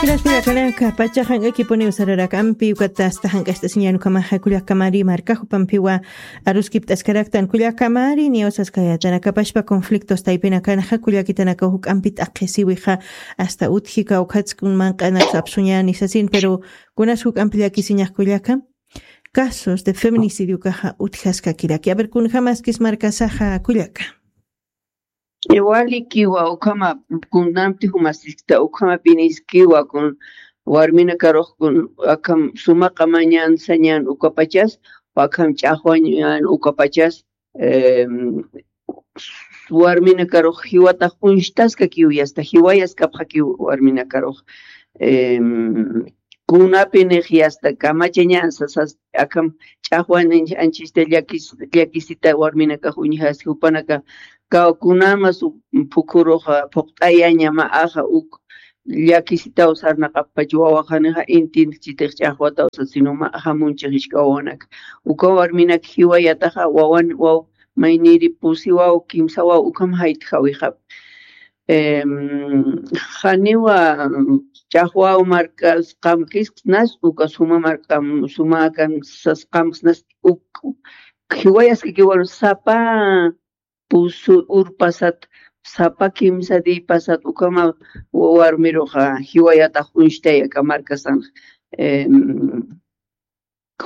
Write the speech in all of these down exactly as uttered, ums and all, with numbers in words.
Gracias, kullakanaka, pacha jank'akipuniw sararak ampi, ukata asta jank'acht'asiñan ukhamaxa kullakamari marka jupampiwa aruskipt'askaraktan kullakamari, niyaw saskayatanakapashpa conflictos taypinakanxa kullakitanaka juk'ampi t'aqhisiwixa asta utjika ukhatskun manq'anaksa apsuñani sasin, pero kunas juk'ampi llakisiñax kullaka. Casos de feminicidio kaxa utjaskakiraki. A ver, kunjamaskis markasaxa kullaka. Walikiwa ukhama kunanti jumasiskta ukhama piniskiwa kun warminakarux kun akham suma qamañan sañan ukapachas, akham ch'axwañan ukapachas, em, warminakarux jiwatax uñstaskakiw yasta jiwayaskapxakiw warminakarux, em, kunapinix yasta kamachañan sasas akham ch'axwan anchista llakis llakisita warminakax uñjasi jupanaka kaw kunamas phukuruxa phuqt'ayaña ma axa uk llakisitaw sarnaqapach wawaxanixa intinchitix ch'axwataw sasinu ma axa munchixishka wawanaka uka warminak jiwayataxa wawan waw mayniri pusi waw kimsa waw ukham jaytjawixap. Em, janiwa ch'axwaw markas qamkisnas uka suma markam suma kan sas qamkisnas uk jiwayaskakiwan sapa pusu urpasat sapa kimsa diypasat ukhama warmiruxa jiwayatax uñstay aka markasan. Em,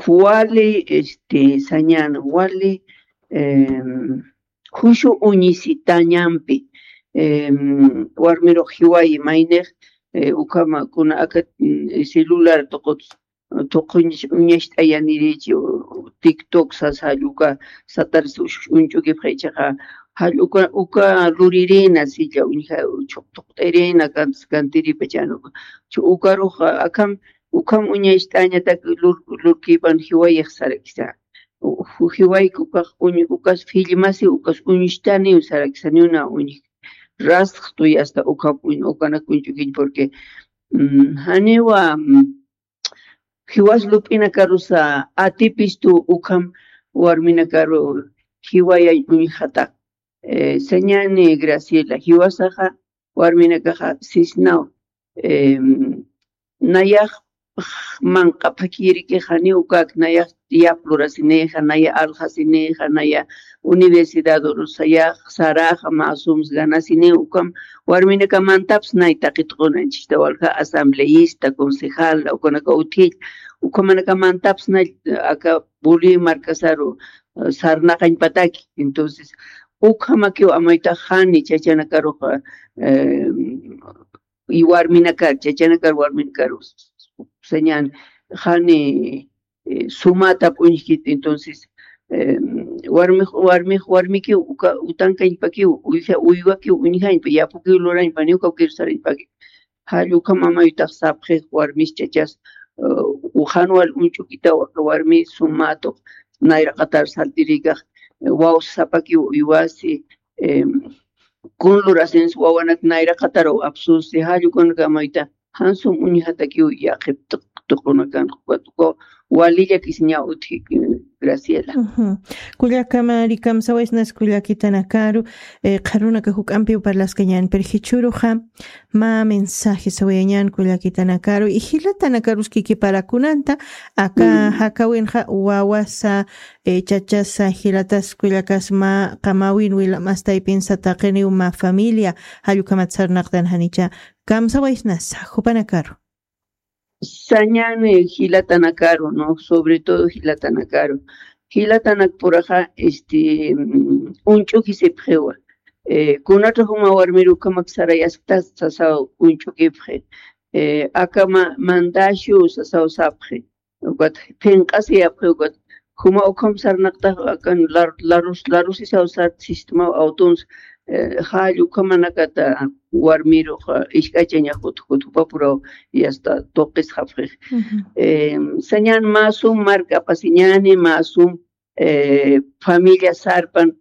wali este sañan wali em, jushu uñisitañampi em, warmirux jiwayi maynix eh, ukhama kuna aka mm, celular tuqut tuquñ uñacht'ayanirichi tiktok sas jall uka satar uñch'ukipxa ichaqa jall uka uka luririna silla uñja chuqtuqt'irina kantiripachan uka ukarux akham ukham uñacht'añatak lurkipan jiwayix sarakisa. Jiwayki ukax ukas filmasi ukas uñstaniw sarakisa ni una uñj rasxtuy asta ukhap ukanak uñch'ukiñ porque mm, janiwa mm, jiwas lup'inakarusa atipistu ukham warminakaru jiwayay uñjata. Eh, sañani Graciela jiwasaxa warminakaxa sisnaw em, nayax manq'apakiriki jani ukak nayax yap lurasinixa naya alxasinixa naya universidad urusayax saraxa masums ganasini ukam warminakamantaps nay taqitqunanchista walja asambleísta concejal ukanaka utjil ukamanakamantaps nay aka buli markasaru eh, sarnaqañpataki. Entonces ukhamakiw amaytax jani chachanakaruxa eh, y warminakar chachanakar warminakar sañan jani eh, sumata p'uñjkit entonces eh, warmix warmix warmikiw uka utankañpakiw uyja uywakiw uñjañpa yapukiw lurañpa niwkaw kirsarañpaki. Jall ukham amaytax sapxix warmis chachas eh, uxan wal uñch'ukitaw aka warmi sumatuq nayraqatar saltirikax eh, waws sapakiw uywasi em, kun lurasins wawanak nayraqataraw apsusi jall ukanakamayta jansum uñjatakiw yaqhip tuqunakan ukat ukaw walillakisiñaw utji. Graciela. Kullakama rikamsawaysnas kullakitanakaru qharunaka juk'ampiw parlaskañan pero jichhuruxa mä mensaje sawayañan kullakitanakaru y jilatanakarus kikiparakunanta aka jakawinxa wawasa chachasa jilatas kullakas mä qamawin wilamastaypinsa taqiniw mä familia jallukhamat sarnaqtan janicha kamsawaysnasa jupanakaru. Sañani jilatanakaru no sobre todo jilatanakaru jilatanak puraxa este uñch'ukisipxiwa kunat'ax uma warmiru ukhamak sarayasktas sasaw uñch'ukipxi. Aka mandashu sasaw sapxi ukat phinq'asiyapxi ukat juma ukham sarnaqtax akan larusisaw sar sistemaw awtuns jall ukhamanakata warmirux isk'achañax utjkut jupapuraw yasta tuqisxapxix. Sañan mä sum mark'apasiñani mä sum familia sarpan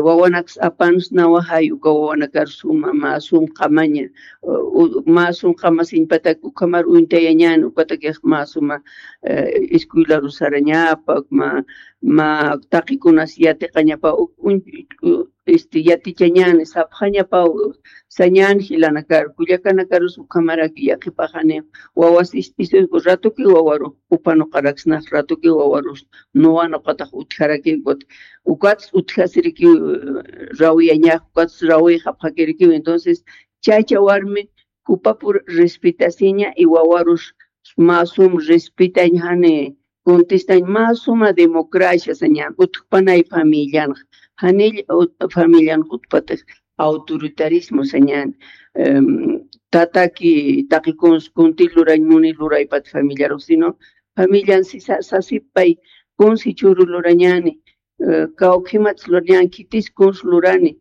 wawanaks apansnawa jay uka wawanakar suma mä sum qamaña mä sum qamasiñpatak ukhamar uñtayañan ukatakix mä suma escuelaru sarañapak mä mä taqikunas yatiqañapa este, yatichañäni, sapxañapaw sañän jilanakar, kullakanakarus ukhamaraki yaqhipaxani, wawas ist'isuyku, ratuki wawaru upanuqaraksnax, ratuki wawarus nuwanuqatax utjarakiw, ukat, ukats utjasirikiw, eh, rawiyañax, ukats rawiyxapxakirikiw. Entonces, chaycha warmi jupapur respetasiña y wawarus mä sum respetañ, jani contestañ, mä suma democracia sañän, utjpanay familianx, janill ut-, familianx utjpatix autoritarismo sañän, em, tataki taqi kuns kunti lurañ muni luraypat familiarux, sino familian si sa-, sasipay kuns jichhüru lurañäni, eh, kawkhimats lurañäni, khitis kuns lurani,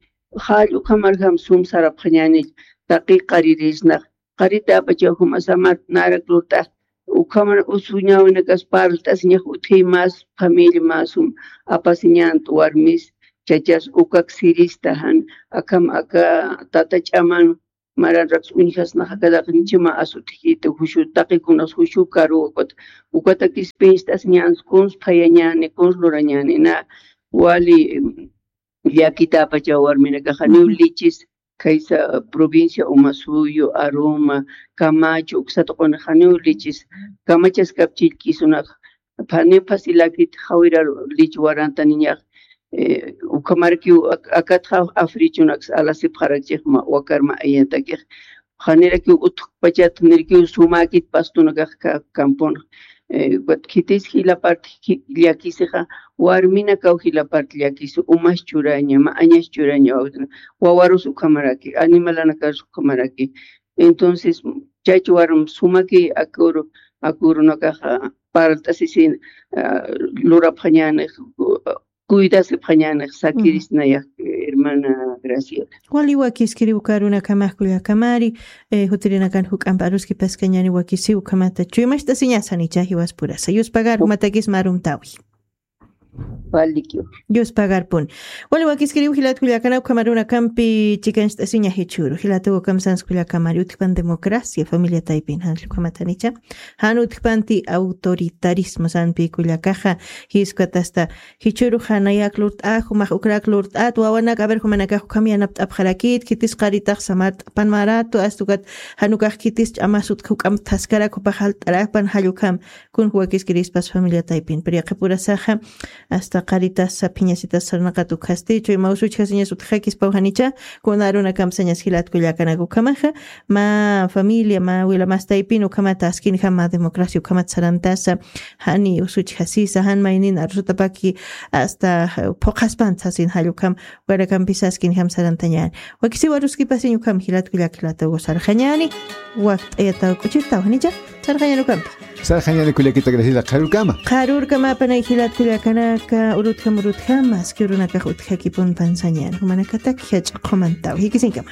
jall ukhamarjam sum sarapxañäni, taqi qaririsnax, qaritäpachaw jumasamat narak lurt'ax, ukhamar usuñäwinakas parlt'asiñax utji, mas familia masum apasiñänt warmis, chachas ukak sirista jan, akham aka tata ch'aman maranraks uñjasnax, akataq nichima asutjkiti, jushu taqikunas jushu karu ukat, ukatakis pinst'asiñäns kuns phayañäni, kuns lurañäni, na wali, em, llakitäpachaw warminakaxa, janiw lichis, khaysa provincia Umasuyu, Aruma, Camacho, uksat q'uni janiw lichis, kamachaskap chillkisunax, phaniw phasilakit jawira lich warantaniñax, eh, ukhamarakiw ak-, akatxa africhunaks alasipxarakchixma, wakarma ayatakix, janirakiw utjpachat nirkiw sumäkit pastunakax ka-, kampun, eh, ukat khitis jila part ji-, llakisixa, warminakaw jila part llakisi, umas churaña, ma'añas churaña, wawarus ukhamaraki, animalanakarus ukhamaraki. Entonces, chaychu warm sumaki akuru, akurunakaxa parlt'asisin, ah, lurapxañänix, cuidasipxañänix sakirisnayax, hermana Graciela. Wali wakiskiri uka arunakamax kullakamari, eh, jutirinakan juk'amp aruskipaskañäni wakisiw ukhamata. Chuymacht'asiñasa nicha jiwaspurasa. Yuspagar jumatakisma arumtawi. Walikiw. Yuspagarpun. Wali wakiskiriw jilat kullakana ukham arunakampi chikancht'asiña jichhüru. Jilatuw ukham sans kullakamari utjpan democracia, familia taypin jan ukhamata nicha. Jan utjpanti autoritarismo sanpi kullakaxa, jiskat hasta jichhüru janayak lurt'a, jumax ukrak lurt'at, wawanak, a ver, jumanakax ukham yanapt'apxarakit, khitis qaritax samart'apan maratu, hasta ukat jan ukax khitis ch'amas utj juk'amp thaskarak jupax jalt'arapan jall ukham, kun wakiskirispas familia taypin. Pero yaqhipurasaxa, hasta qaritas saphiñasitas sarnaqat ukhasti, chuyma usuchjasiñas utjakispaw janicha, kun arunakamp sañas jilat kullakanak ukhamaxa, mä familia, mä wila mas taypin ukhamat askinjam mä democracia ukhamat sarantasa, jani usuchjasisa, jan maynin arusutapaki hasta phuqhaspan sasin jall ukham, ukanakampi saskinjam sarantañäni. Wakisiw aruskipasiñ ukham jilat kullak jilataw sarxañäni, wakt'ayataw k'uchirtaw janicha, sarxañäni ukampi. Sarxañäni kullakita Graciela, qharürkama. Qharürkama panay jilat kullakanaka, urutjam urutjam, aski urunakax utjakipun pansañäni. Jumanakatak jach'a qhumantaw. Jikisiñkama.